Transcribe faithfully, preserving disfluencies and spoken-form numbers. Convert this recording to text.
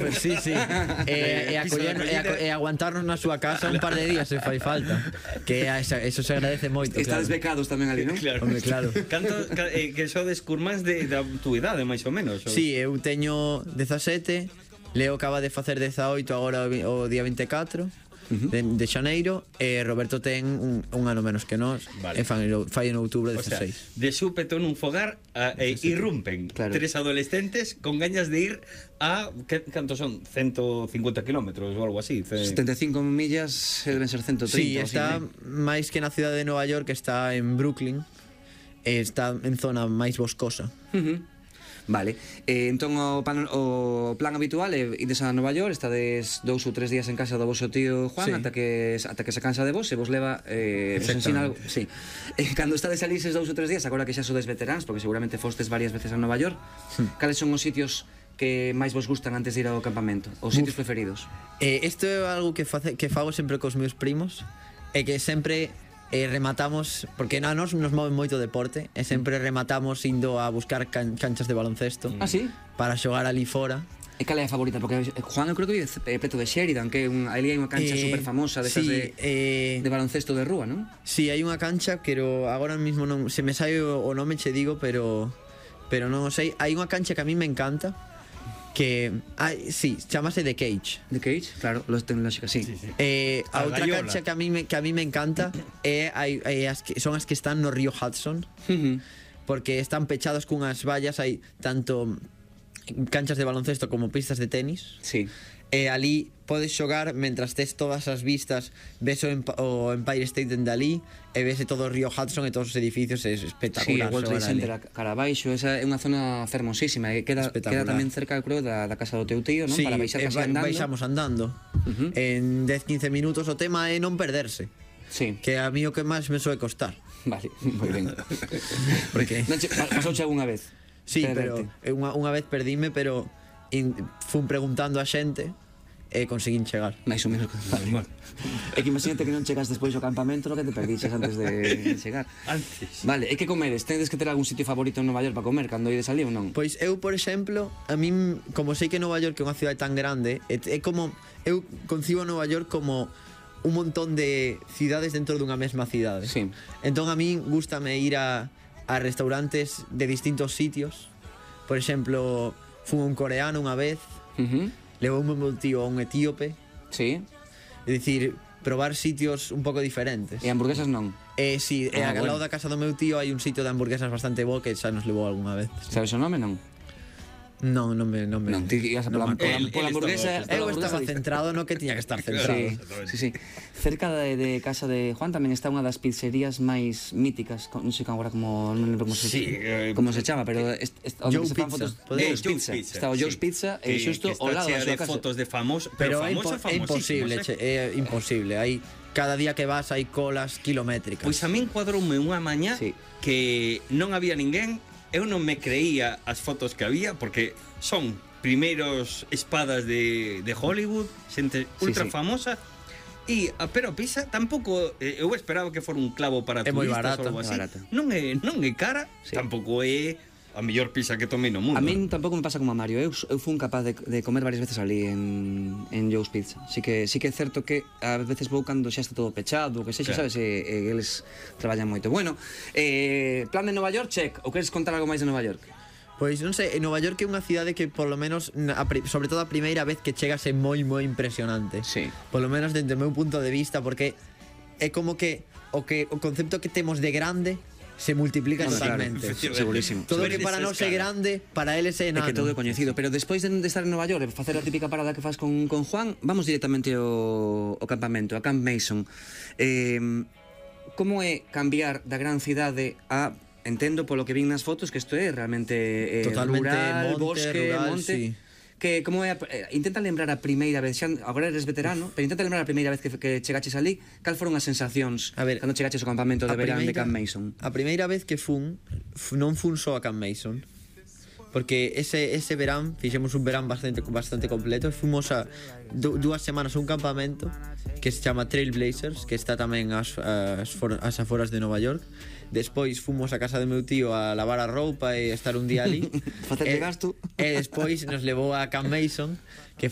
Pues sí, sí. E, e, acoller, e, a, e aguantarnos na súa casa un par de días se fai falta. Que esa, eso se agradece moito. Estades claro. becados tamén ali, non? Claro. Hombre, claro. Canto, ca, eh, que sodes curmás de, da túa idade, máis ou menos? Ou? Sí, eu teño dezasete, Leo acaba de facer dezaoito agora o día vinte e catro. Uh-huh. de, de xaneiro, e Roberto ten un, un ano menos que nós, vale. E fai, fai en outubro dezaseis. O sea, de súpeto nun fogar a, e irrumpen claro. Tres adolescentes con gañas de ir a, que, cantos son? ciento cincuenta kilómetros ou algo así? setenta e cinco millas deben ser ciento trinta. Sí, está máis que na cidade de Nova York, está en Brooklyn, e está en zona máis boscosa. Uh-huh. Vale, eh, entón o plan, o plan habitual é ides a Nova York, estades dous ou tres días en casa do vosso tío Juan, sí. ata que ata que se cansa de vos e vos leva eh, vos ensina algo, sí. Eh, cando estades ali eses dous ou tres días, agora que xa sodes veteráns, porque seguramente fostes varias veces a Nova York, sí. Cales son os sitios que máis vos gustan antes de ir ao campamento? Os sitios Uf. preferidos? Eh, isto é algo que, face, que fago sempre cos meus primos, e que sempre E rematamos, porque a nos nos move moito deporte, e sempre rematamos indo a buscar can, canchas de baloncesto. Ah, sí? Para xogar ali fora. E cal é a favorita? Porque Juan eu creo que vive preto de Sheridan, que un, ali hai unha cancha eh, super famosa desas sí, de, eh, de baloncesto de rúa, non? Sí, hai unha cancha, pero agora mismo non se me sai o, o nome, che digo, pero pero non o sei. Hai unha cancha que a mí me encanta, que ai, sí, chamase The Cage. The Cage, claro, los tecnolóxicas, sí. sí, sí. Eh, a, a outra cancha que a mí me que a mí me encanta é hai, hai as que son as que están no río Hudson. Uh-huh. Porque están pechados cunhas vallas, hai tanto canchas de baloncesto como pistas de tenis. Sí. E ali podes xogar mentras tes todas as vistas, ves o, Emp o Empire State dende ali, e ves todo o río Hudson e todos os edificios, é espectacular. Sí, o World Trade Center a cara abaixo, esa é unha zona fermosísima, e queda, queda tamén cerca, creo, da, da casa do teu tío, non? Sí, para baixar casi andando. Baixamos andando. Uh-huh. En dez a quince minutos, o tema é non perderse. Sí. Que a mí o que máis me soe costar. Vale, moi ben. Porque non che, pasouche algunha vez? Sí, pero unha, unha vez perdíme, pero in, fun preguntando a xente e conseguín chegar. Mais ou menos. Vale. É que imagínate que non chegas despois ao campamento, lo que te perdixes antes de chegar. Antes. Vale, e que comedes? Tedes que ter algún sitio favorito en Nova York para comer cando ides ali ou non? Pois eu, por exemplo, a min, como sei que Nova York é unha cidade tan grande, é, é como, eu concibo Nova York como un montón de cidades dentro dunha mesma cidade. Sí. Entón a min gústame ir a, a restaurantes de distintos sitios. Por exemplo, fun un coreano unha vez. Uh-huh. Levou un meu tío a un etíope. Sí. É dicir, probar sitios un pouco diferentes. E hamburguesas non? Eh, sí, ah, e ao bueno. lado da casa do meu tío hai un sitio de hamburguesas bastante bo que xa nos levou algunha vez. Sabes o nome, non? Non, non me... Non, me, non ti ibas a pola, non pola, pola hamburguesa... Eu estaba centrado no que tiña que estar centrado. Sí, sí, sí. Cerca de, de casa de Juan tamén está unha das pizzerías máis míticas, non sei agora como... Non lembro como se, sí, eh, como se chama, pero... Est, est, Joe se Pizza. Fotos, eh, Joe's Pizza. Pizza. Está o Joe's sí. Pizza e xusto ao lado da súa casa. Fotos de famosos, pero, pero famosa, é imposible, che, é imposible. Hai... Cada día que vas hai colas kilométricas. Pois a min cuadroume unha mañá sí. que non había ninguén. Eu non me creía as fotos que había, porque son primeiros espadas de, de Hollywood, xente ultra sí, sí. famosa, e a pero pizza tampouco, eu esperaba que fora un clavo para turistas, é moi barata, ou algo así. Barata. Non é non é cara, sí. tampouco é a mellor pizza que tomei no mundo. A min tampouco me pasa como a Mario. Eu, eu fun capaz de, de comer varias veces ali en, en Joe's Pizza. Así que sí que é certo que a veces vou cando xa está todo pechado, que sexa, claro. Sabes, e, e eles traballan moito. Bueno, eh, plan de Nova York, check. Ou queres contar algo máis de Nova York? Pois non sei, en Nova York é unha cidade que por lo menos, a, sobre todo a primeira vez que chegas é moi moi impresionante. Sí. Por lo menos dentro do meu punto de vista, porque é como que o que o concepto que temos de grande se multiplica no, totalmente. Claro, segurísimo. Todo que para nós é grande, para eles é enano. É que todo é coñecido. Pero despois de, de estar en Nova York e facer a típica parada que faz con, con Juan, vamos directamente ao, ao campamento, a Camp Mason. Eh, como é cambiar da gran cidade a... Entendo polo que vin nas fotos que isto é realmente eh, totalmente rural, monte, bosque, rural, monte. Sí. Que como é a, eh, intenta lembrar a primeira vez, xa agora eres veterano, pero intenta lembrar a primeira vez que, que chegaches ali, cal foron as sensacións a ver, cando chegaches ao campamento de verán de Camp Mason? A primeira vez que fun, non fun só a Camp Mason, porque ese ese verán fixemos un verán bastante bastante completo, fomos a du, dúas semanas a un campamento que se chama Trailblazers, que está tamén as, as, for, as aforas de Nova York. Despois fomos a casa do meu tío a lavar a roupa e estar un día ali. Facer de gasto. E despois nos levou a Camp Mason, que foi